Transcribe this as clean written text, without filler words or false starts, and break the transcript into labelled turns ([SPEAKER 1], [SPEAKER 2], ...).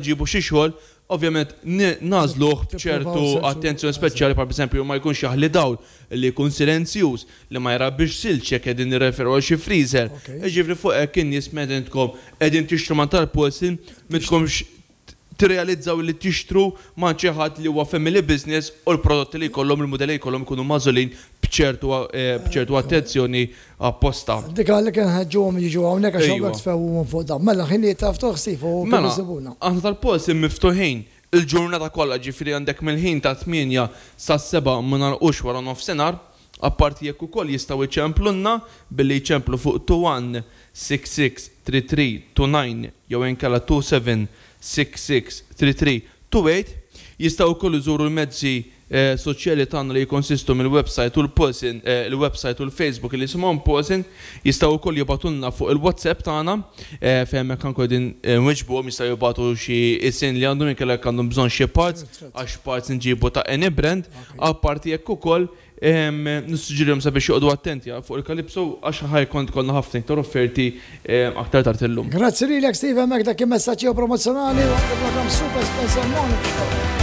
[SPEAKER 1] Nġibu xi xogħol, ovvjament nagħżluh b'ċertu attenzjoni speċjali bħal pereżempju ma jkunx jaħli dawl, li jkun silenzjuż, li ma jrabbix silġ jekk qegħdin nirreferu għal xi freezer. Jiġifieri fuq hekk in-nies meta intkom qegħdin tixtru mingħand tal-Paulson m'intkomx tirrealizzaw li tixtru m'għand xi ħadd li huwa family business u l-prodotti li jkollhom, il-mudelli li jkollhom ikunu magħżulin b'ċertu b'ċertu attenzjoni apposta.
[SPEAKER 2] Dik għalhekk inħeġġuhom jiġu hawnhekk għax hawnhekk tfehmuhom fuq dan. Mela ħinijiet ta' ftuħ Steve u kif
[SPEAKER 1] Mela,
[SPEAKER 2] isibuna?
[SPEAKER 1] aħna tal-Polsim miftuħin il-ġurnata kollha ġifieri għandek mill-ħin tat-tmienja sas-sebgħa ma nagħlqux wara nofsinhar. Apparti jekk ukoll jistgħu jċemplulna billi jċemplu fuq 21663329 jew inkella 27663328. Jistgħu wkoll iżuru l-mezzi soċjali tagħna li jikkonsistu mill-websajt u l-Pulsin, il-websajt u l-Facebook li jisimhom Pulsin, jistgħu wkoll jibagħtulna fuq il-WhatsApp tagħna fejn hemmhekk anke qegħdin nwiġbuhom, jistgħu jibagħtu xi isien li għandhom inkella jekk għandhom bżonn xi parts, għax parts inġibu ta' any brand, apparti hekk ukoll nissuġġerihom sabiex joqogħdu attenti fuq il-Calypso għax ħa jkun ikollna ħafna iktar offerti aktar tard illum.
[SPEAKER 2] Grazzi lilek Steve hemmhekk dak kien messaġġ ieħor promozzjonali waqt il-programm Super Spencer Morning Show.